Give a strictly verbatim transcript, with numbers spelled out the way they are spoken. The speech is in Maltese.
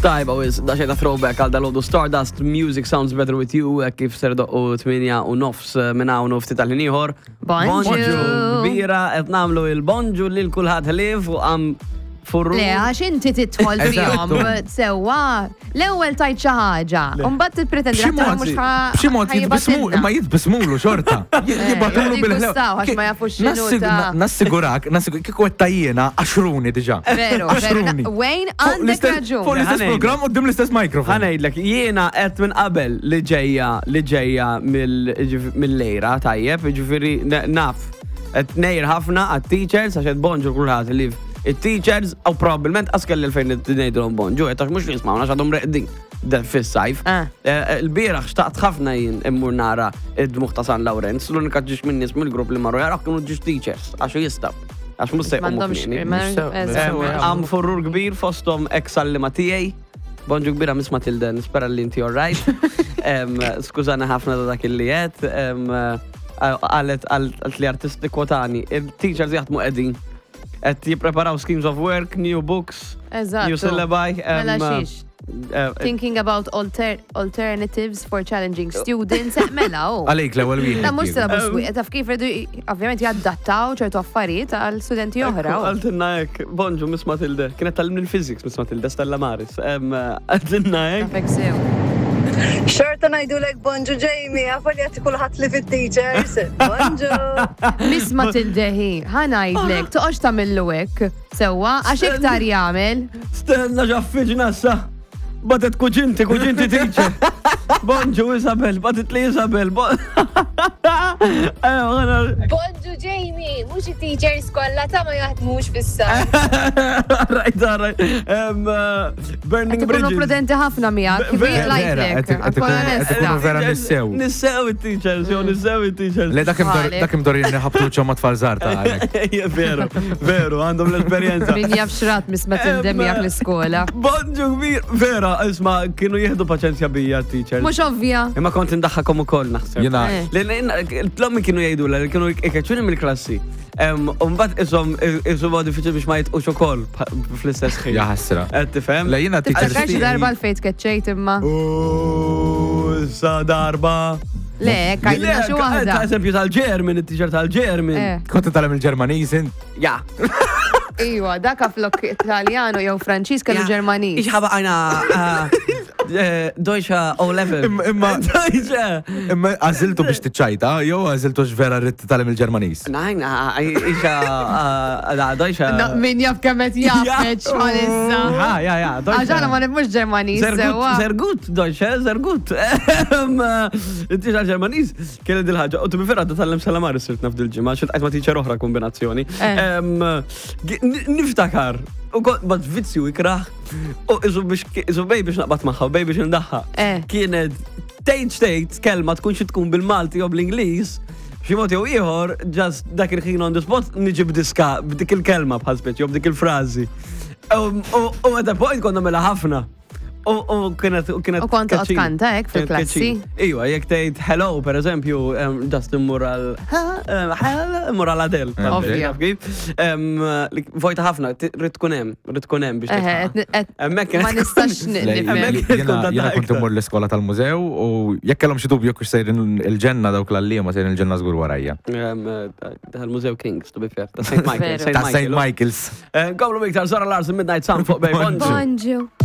Tajba, wis, da xejta throwback għal dal-għodu Stardust, "Music Sounds Better With You", eh, kif ser doqqu tmienja u nofs eh, minn hawn u ftit tal-ħin ieħor. Bonġu. Kbira, qed nagħmlu il-bonġu lil kulħadd ħlief u għam furru. Le, għax inti tidħol fihom, sewwa, l-ewwel tajt xi ħaġa, u mbagħad tippretendi B'xi li mod, mhux ħa- b'xi mod jitbismu, ħajbatilna. imma jitbismulu xorta. Jibatulu bil jiggustaw, għax ma jafux x'inhu ta' Nassigurak, nassigurak, kieku għetta jiena, għaxruni diġà. Veru, veru. Għaxruni. Wayne, Fuq għandek l-istess- raġun. Fuq l-istess Ħa ngħidlek. program u l-istess mikrofon. Ħa ngħidlek, jiena qed minn qabel li ġejja li ġejja mill-lejra, tajjeb, ġifieri naf. Qed ngħir ħafna għat-teachers għax qed bonġu kulħadd li it-teachers u probabbilment askel li fejn ngħidulhom bonġu, qed għax mhux jismawna għax għadhom reqdin fis-sajf. Ah. Eh, Il-bieraħ xtaqt ħafna jien immur nara id-dmuħ ta' San Lawrenz, l-unika ġiex minn nies mill-grupp li marru jaraw kienu ġiex teachers, għax jistaw. Għax mhux se jqumu M'għandhomx- kmieni. ma- Sew- eżatt. sew- Għam furrur kbir fostom ex għallima tiegħi. Bonġu kbira, Miss Matilde, nispera li inti alright. Em, Skużani ħafna ta' dak li qed. Għalet għalet li artisti kwotani. Il-teachers jaħdmu qegħdin. Qed jippreparaw schemes of work, new books, Eżatt. new syllabi. em, Mela xiex. eh, Thinking about alter alternatives for challenging students. Eh, Mela, oh. Għalik l-ewwel wieħed. Da mhux syllabus Um, wieħed, taf kif rridu ovvjament jaddattaw ċertu affarijiet għal studenti oħra. oh. Għaltinna hekk, bonġu, Miss Matilde. Kienet tgħallimni l-physics, Miss Matilde, Stella Maris. Em, Għaltinna hekk. Tafek sew. Xorta ngħidulek bonġu, Jamie, għafa li għati kulħadd li fit-teachers. Bonġu. Miss Matilde hi, ħa ngħidlek, toqgħodx tagħmillu hekk. Sewwa, għax iktar jagħmel. Stenna ġaffiġna sa. Batet kuġinti, kuġinti teacher. Bonġu, Isabel, batet li Isabel. Bo- Ewa, għana. Bonġu Jamie, mhux it-teachers kollha ta' ma jaħdmux fis-sajf. Right, right. Um, uh, Burning Qed ikunu Bridges. prudenti ħafna miegħek, kif Vera, lajtlek. qed- qed Akkun ikunu- qed onesta. ikunu vera nissew. Nissew it-teachers, jo, nissew it-teachers. Le dak Għalek. imdor jenni ħabtu ċom tfal żgħar ta' għalek. Ejja, veru, veru, għandhom l-esperienza. Min jaf xrat Miss Matilde Em, miegħek l-iskola. Bonġu kbir, vera, isma, kienu jieħdu paċenzja bija teachers. Mhux ovvja. Imma kont indaħħakom ukoll naħseb. Jena, Eh. L-ommi kienu jgħidu li kienu ikeċuni mill-klassi. Umbat isom, isom diffiċli biex ma jitqux ukoll fl-istess ħin. Ja ħasra. Qed tifhem? Le jiena teachers. Tiftakar xi darba l-fejt keċċejt imma. U sa darba. Le, għidilna xi waħda. Ta' eżempju tal-German, it-teacher tal-German. Eh. Kont titgħallem il-Ġermaniż int? Ja. Iwa, dak flok Italjano jew Franċiż kellu Ġermaniż. Ich habe eine äh, Deutsche O-Level. Imma- imma- Deutsche. Imma għażiltu biex tiċċajta, jew għażiltu vera rrid titgħallem il-Ġermaniż? Nein, äh, ich äh, Deutsche. No, min jaf kemm qed jafeċ bħalissa. Ja, ja, ja, Deutsche. Għax aħna ma nifhmux Ġermaniż Sehr gut, sewwa. sehr gut, Deutsche, sehr gut. Il-teacher Ġermaniż kienet dil-ħaġa. U to be fair, għadda tgħallem salamar sirt naf dil-ġimgħa, xilt ma teacher oħra kombinazzjoni. Eh. Em, gi- n- Niftakar. U kont bat vizzju ikraħ. U isu biex isu bej biex naqbad magħha, u bej biex ndaħħa. Eh. Kienet tgħid xtejt kelma tkun xi tkun bil-Malti jew bl-Ingliż. Xi mod jew ieħor, just dak il-ħin on the spot niġi b'diska b'dik il-kelma bħal speċi jew b'dik il-frażi. U u at a point konna mela ħafna. U u kienet u kienet U kont toqgħod catchy. kanta hekk Kienet fil-klassi? catchy. Iwa, jekk tgħid hello per eżempju, em, just immur għal immur għal Adele. Ovvja. Taf kif? Em, li- Vojta ħafna, ti- rrid tkun hemm, rrid tkun hemm biex Eħe, titħaq. qed- qed- Hemmhekk kienet ma nistax tkun- n- Le, nifhem. Hemmhekk kienet tkun Jiena jiena kont iktar. immur l-iskola tal-mużew u jekk kellhom xi dubju kux sejrin il-ġenna dawk l-għalliema sejrin il-ġenna żgur warajja. Em, eh, Tal-Mużew Kings, to be fair, ta' Saint Michael. Veru. Ta' Saint Michael's. Komplu iktar Zara Larsson, "Midnight Sun" fuq Bay. Bonġu. Bonġu.